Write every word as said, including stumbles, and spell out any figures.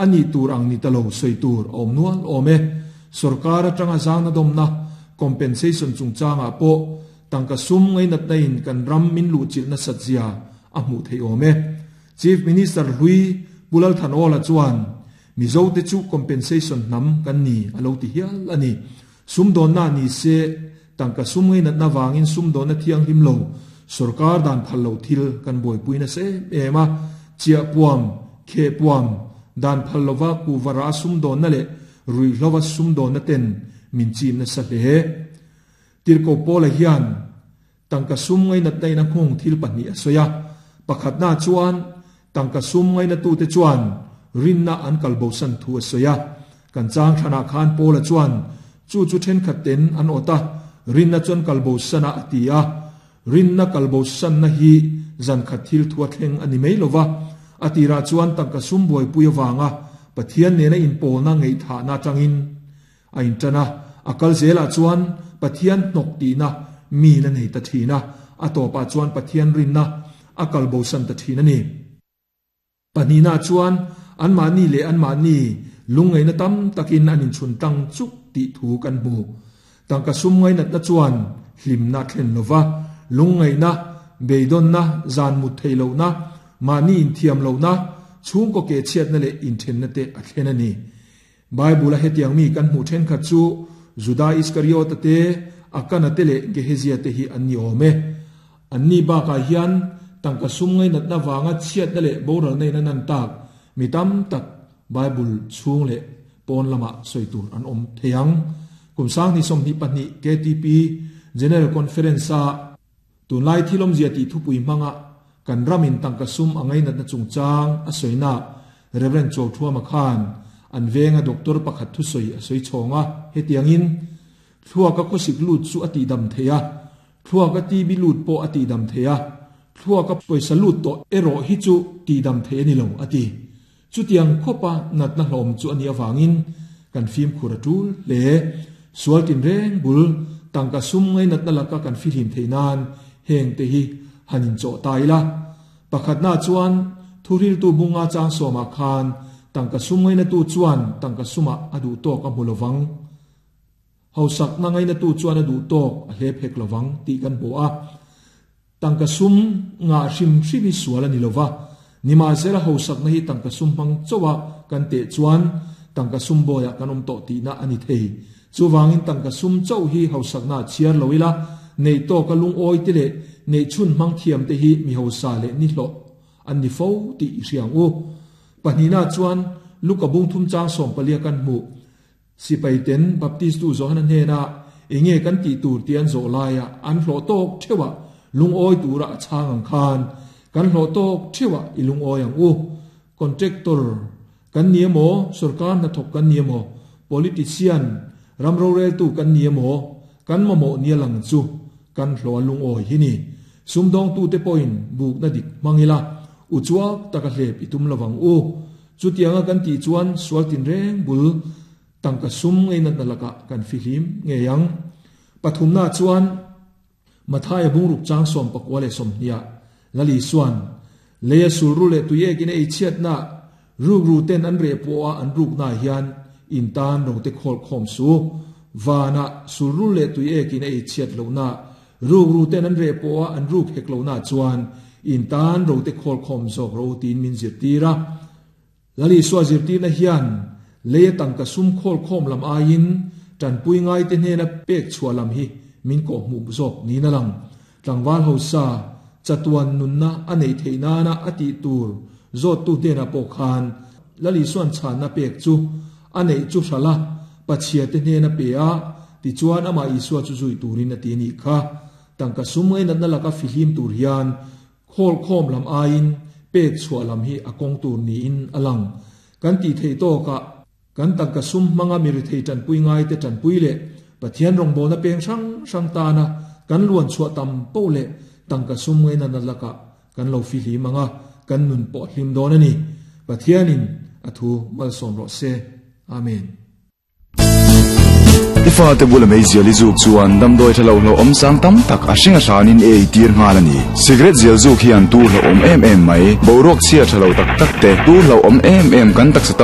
Ani tur ang ni talo soi tur awm nual awm e. Sarkar atanga zangna domna compensation chungchanga po tangka sum ngai nat na in kan ram min lu chil na satzia a hmu thei awm e. Chief Minister Hui Pulal Thanola chuan Mizo te chu compensation nam kan ni alo ti hial ani. Sum don na ni se tangka sum ngai nat na wangin sum don na thiang him lo sarkar dan phal lo thil kan boi puina se ema chia puam khe puam dan phal lova ku wara sum don na le rui hlova sum don na ten min chim na sa hle. Tirko pola hian tangka sum ngai nat nai na khung thil pahni asoya. Pakhat na chuan tangka sum ngai na tu te chuan rinna an kalbo san thu asoya. Kan chang thana khan pola chuan chu chu then khat ten an ota rinna chuan kalbo sana atia. Rinna kalbo san na hi zan khat thil thua thleng ani mai lova. Atira chuan tangka sum boi puya wanga Pathian ne na in pol na ngei tha na tangin a in tana akal zela chuan Pathian nok ti na mi na nei ta thina atopa chuan Pathian rin na akal bo san ta thina ni. Panina chuan an ma ni le an ma ni lungai na tam takin anin chun tang chuk ti thu kan mu. Tangka sum ngai nat na chuan hlim na thlen lova lungai na beidon na zan mu thailo na mani in thiam lo na chung ko ke chiat na le in then na te a thlen ani. Bible a hetiang mi kan hmu then kha chu Juda Iskariot te akana te le Gehezia te hi anni ome. Anni ba ka hian tangka sum ngai nat na wanga chiat na le boral nei na nan tak mi tam tak Bible chung le pon lama soitur an om theyang. Kumsang ni som ni pahnih K T P General Conference a tunlai thilom zia ti thupui manga kan ramin tangka sum angai nat na chungchang a soina Reverend Chawthua Makhan an venga doctor pakhat thu soi a soi chonga hetiangin thua ka khosik lut chu ati dam theya thua ka ti bi lut po ati dam theya thua ka poisa lut to ero hi chu ti dam the ni lo ati. Chutiang khopa nat na hlom chu ani awangin kan fim khura tul le sual tin reng bul tangka sum ngai nat na laka kan filim theinan heng te hi hanin cho taila. Pakhat na chuan thuril tu bunga chang soma khan tangka sum ngai na tu chuan tangka suma adu to ka mulowang hausak na ngai na tu chuan adu to a hle phek lowang ti kan bo a. Tangka sum nga hrim hrim suala ni lova nima zera hausak na hi tangka sum hmang chowa kan te chuan tangka sum boya kanom to ti na ani thei. Chuwangin tangka sum chau hi hausak na chiar loila nei to ka lung oi te le nei chun mang thiam te hi mi hausa le ni hlo an ni fo ti riang u. Pahnina chuan luka bung thum chang som palia kan mu sipai ten baptist tu zohan hne na enge kan ti tur tian zo laia an hlo tok thewa lung oi tura chang ang khan kan hlo tok thewa ilung oi ang u. Contractor kan niemo sarkar na thok kan niemo politician ramro rel tu kan niemo kan mamo nialang chu kan hlo lung oi hi ni. Sumdong tu te point buk na dik mangila uchuak taka hlep itum lawang u. Chutianga kan ti chuan sualtin reng bul tangka sum ngai nat nalaka kan filim ngeyang. Pathum na chuan Mathaya bungruk chang som pakwale som nia lali suan leya sulru le tuye kin ei chiat na ruk ru ten an re po a an ruk na hian in tan ro te khol khom su wana sulru le tuye kin ei chiat lo na ruk ru ten an re po a an ruk hek lo na chuan in tan ro te khol khom zok ro tin min zir tira. Lali suwa zir tir na hian leya tangka sum khol khom lam ain tan pui ngai te hne na pek chua lam hi min ko mu zok ni na lang. Tlangwal ho sa chatuan nun na anei theina na ati tur zot tu te na po khan lali suan chan na pek chu anei chu shala pachia te hne na pe a ti chuan ama Isua chu zui turin ati ni kha. Tangka sumngai nat na laka filim tur hian khol khom lam ain pek chua lam hi akong tur ni in alang. Kan ti thei to ka kan tangka sum manga mi ri thei tan pui ngai te tan pui le Pathian rong bo na peng sang sang ta na kan luan chua tam po le tangka sum ngai na laka kan lo fi li manga kan nun po hlim don ani. Pathianin athu malsom ro se. Amen. Ifa te bula mei zial izuk chuan damdoi thalo hlo om sang tam tak a hringa hranin ei tir ngal ani. Cigarette zial zuk hian tu hlo om em em mai borok chia thalo tak tak te tu hlo om em em kan tak satan